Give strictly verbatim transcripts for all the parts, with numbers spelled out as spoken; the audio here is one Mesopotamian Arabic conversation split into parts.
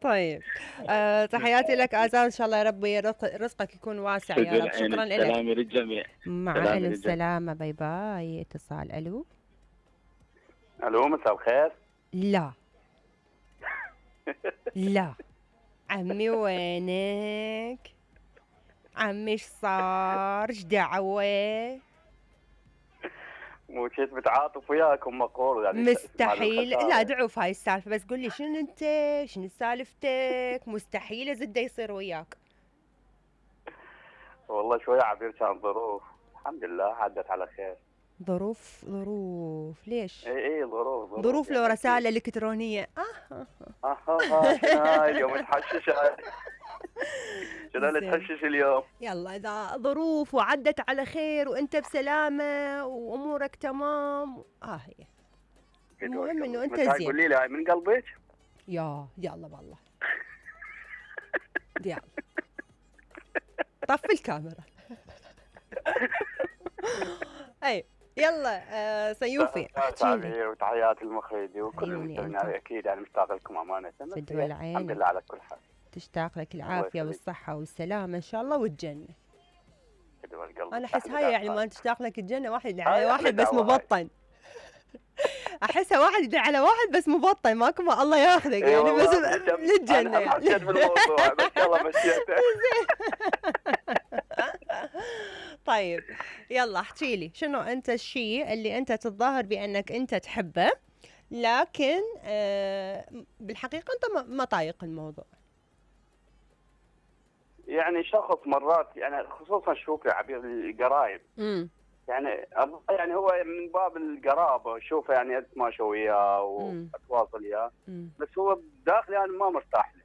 طيب آه تحياتي لك آزار، إن شاء الله يا ربي رزقك يكون واسع يا رب. شكرا لك. سلامي للجميع. مع ألف سلامة. باي باي. اتصال. ألو ألو مساء الخير. لا لا عمي وينك؟ عمي ايش صار؟ ايش دعوة؟ مو كنت متعاطف وياكم مقول يعني مستحيل. لا دعوف هاي السالفة، بس قول لي شنو انت؟ شنو سالفتك؟ مستحيل ازد يصير وياك. والله شوية عبير كان ظروف، الحمد لله عدت على خير. ظروف ظروف ليش؟ اي اي ظروف ظروف, ظروف لو رسالة الكترونية. اه اه اه اه شنو هاي اليوم تحشش هاي؟ شنو اللي تحشش اليوم؟ يلا اذا ظروف وعدت على خير وانت بسلامة وامورك تمام اه هي المهم انه انت زين. قولي لي هاي من قلبك؟ يا يلا والله. يلا طفي الكاميرا. اي يلا آه سيوفي احكي وتحيات المخرج وكل المستمعين اكيد يعني مشتاق لكم امانه. فدوى العين. الحمد لله على كل حال. تشتاق لك العافيه والصحه والسلامه ان شاء الله والجنه. فدوى القلب. انا احس هاي يعني ما تشتاق لك الجنه واحد على واحد بس مبطن. احسها واحد يدعي على واحد بس مبطن ماكو ما الله ياخذك يعني بس للجنه يعني. حسيت بالموضوع بس يلا مشيته. طيب يلا احكي لي شنو انت الشيء اللي انت تتظاهر بانك انت تحبه لكن آه بالحقيقه انت ما طايق الموضوع. يعني شخص مرات يعني خصوصا شوف يا عبير القرايب. امم يعني يعني هو من باب القرابه شوفه يعني اتماشى وياه واتواصل وياه بس هو داخلي يعني ما مرتاح له.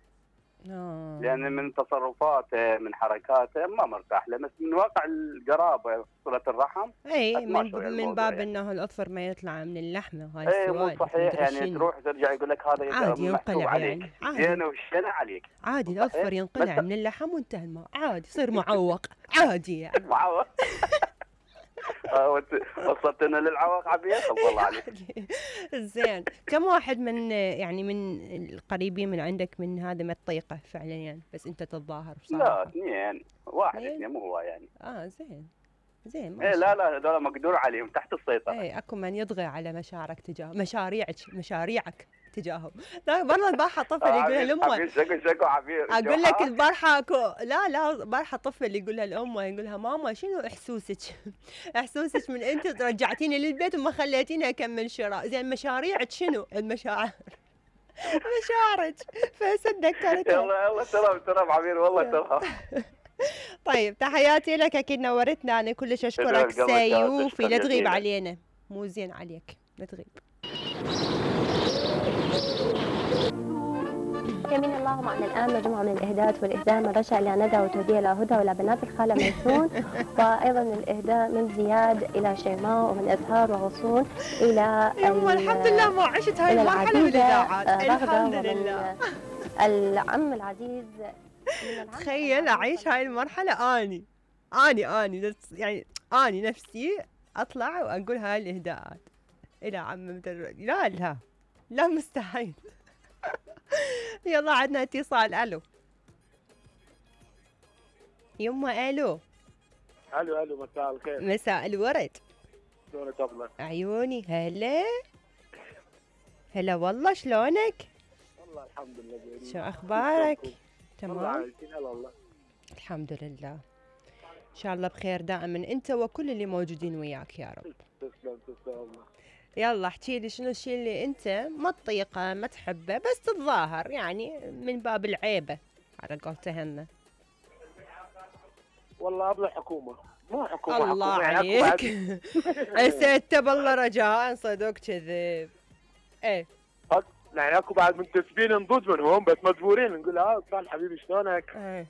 آه. لان من تصرفاته من حركاته ما مرتاح له بس من واقع القرابه صله الرحم. اي من, من باب يعني. انه الاظفر ما يطلع من اللحمه هاي السؤال. اي مو صحيح يعني تروح ترجع يقول لك هذا عادي ينقلع عليك. يعني عادي زين وشنا عليك عادي الاظفر ينقلع من اللحم وانتهى الماء عادي يصير معوق عادي يعني. معوق. وصلتنا للعواق عبير الله عليك. زين كم واحد من يعني من القريبين من عندك من هذا ما تطيقه فعليا يعني بس انت تتظاهر بصراحه؟ لا اثنين واحد اثنين مو هو يعني. اه زين زين ايه لا لا هذول مقدور عليهم تحت السيطره. ايه اكو من يضغي على مشاعرك تجاه مشاريعك مشاريعك تجاههم. لا برا البارحه طفل يقولها لامه شكو شكو عبير اقول لك البارحه اكو لا لا البارحه طفل يقولها لامه يقولها ماما شنو احسوسك؟ احسوسك من انت رجعتيني للبيت وما خليتيني اكمل شراء. زين مشاريعك شنو؟ المشاعر مشاعرك فسدكرتها. يلا يلا تمام تمام عبير والله تمام. طيب تحياتي لك اكيد نورتنا انا كلش اشكرك سيوفي. لا تغيب علينا مو زين عليك لا تغيب. يمين الله معنا الآن مجموعة من الإهداءات والإهداء من رشا إلى ندى وتوديع إلى هدى وإلى بنات الخالة ميسون وأيضا الإهداء من زياد إلى شيماء ومن أزهار وغصون إلى يما الحمد لله ما عشت هاي المرحلة من الإذاعات الحمد لله. العم العزيز تخيل أعيش هاي المرحلة أني أني أني يعني أني نفسي أطلع وأقول هاي الإهداءات إلى عم لا لا لا مستحيل. يلا عندنا اتصال. الو يما. الو الو الو مساء الخير. مساء الورد. شلونك ابله؟ عيوني هلا هلا والله شلونك؟ والله الحمد لله زين. شو اخبارك؟ تمام والله والله الحمد لله ان شاء الله بخير دائما انت وكل اللي موجودين وياك يا رب. تسلم تسلم والله. يلا احكي لي شنو الشيء اللي انت ما تطيقه ما تحبه بس تتظاهر يعني من باب العيبه على قولتهن. والله ابو الحكومه مو حكومه الله حكومة عليك. اسيت بالله رجاء صدق كذب. ايه يعني اكو بعد منتسبين نضوج منهم بس مجبورين نقول ها صال حبيبي شلونك. ايه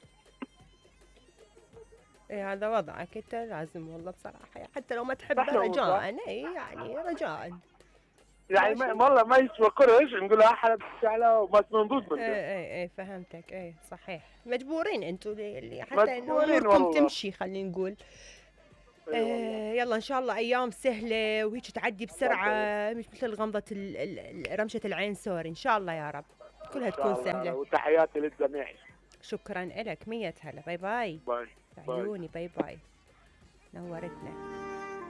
ايه هذا وضعك انت لازم والله بصراحه حتى لو ما تحبه رجاء. اي يعني رجاء يعني والله ما يسوى قرش نقول ها حلب على بس منضوج منهم. اي اي اي فهمتك. اي صحيح مجبورين انتم اللي حتى انه اموركم تمشي خلينا نقول. آه يلا ان شاء الله ايام سهله وهيك تعدي بسرعه مش مثل غمضه رمشه العين سوري ان شاء الله يا رب كلها تكون سهله. وتحياتي للجميع. شكرا لك، مية هلا، باي باي. باي عيوني، باي باي، نورتنا.